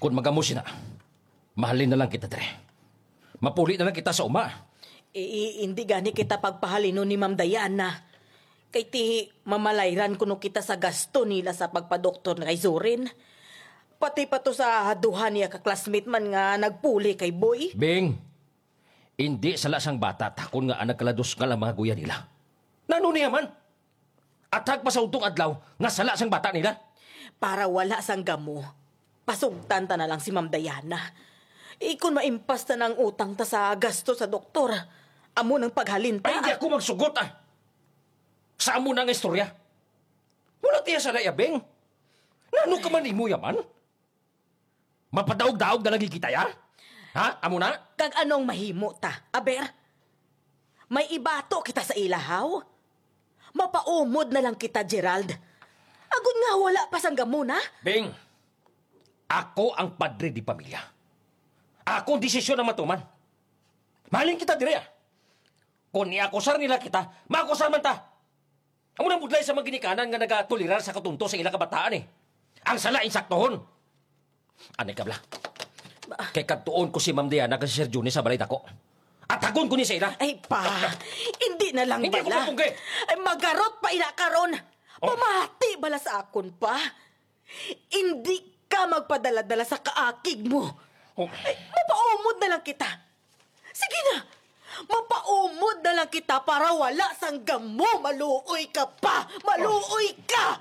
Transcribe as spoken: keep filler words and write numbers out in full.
Kung magamo sina, mahalin na lang kita dire. Mapuli na lang kita sa uma. Eh, hindi gani kita pagpahalinon ni Ma'am Diana. Kay ti mamalayran kuno kita sa gasto nila sa pagpadoktor kay Zorin. Pati pa to sa duha niya ka classmate man nga nagpuli kay Boy. Bing, hindi sala sang bata ta kon nga nagkaladusngal ang mga guya nila. Nano niya man? Atag pa sa udtong adlaw nga sala sang bata nila. Para wala sang gamo, pasugtan ta na lang si Ma'am Diana. Ikon maimpas ta na ang utang ta sa gasto sa doktor, amo nang paghalin ta. Ay, hindi ako magsugot, ah. Sa amo na nga istorya. Wala tiya sa nayabing. Nano ka man imo yaman? Mapadaog-daog na lagi kita, ya? Ha? Amo na? Kag anong mahimo ta? Aber, may ibato kita sa ilahaw. Mapaumod na lang kita, Gerald. Agod nga wala pa sang gamo na. Bing, ako ang padre di pamilya. Ako ang desisyon ang matuman. Mahalin kita dire, ah. Kung iakusar nila kita, maakusar man ta. Amo nang budlay sa mga ginikanan nga nagatolerar sa katunto sa ila kabataan, eh. Ang sala, insaktohon. Anay ka, bala. Kay kadtuon ko si Ma'am Diana kag si Sir Johnny sa balay dako. Atagon ko ni sa ila. Ay, pa. Hindi na lang Hindi ako bala. Mapungge. Ay, magarot pa ina karon. Oh. Pamati bala sa akon, pa. Hindi ka magpadala-dala sa kaakig mo. Oh. Ay, mapaumod na lang kita. Sige na. Mapaumod na lang kita para wala sang gamo. Maluoy ka pa. Maluoy ka.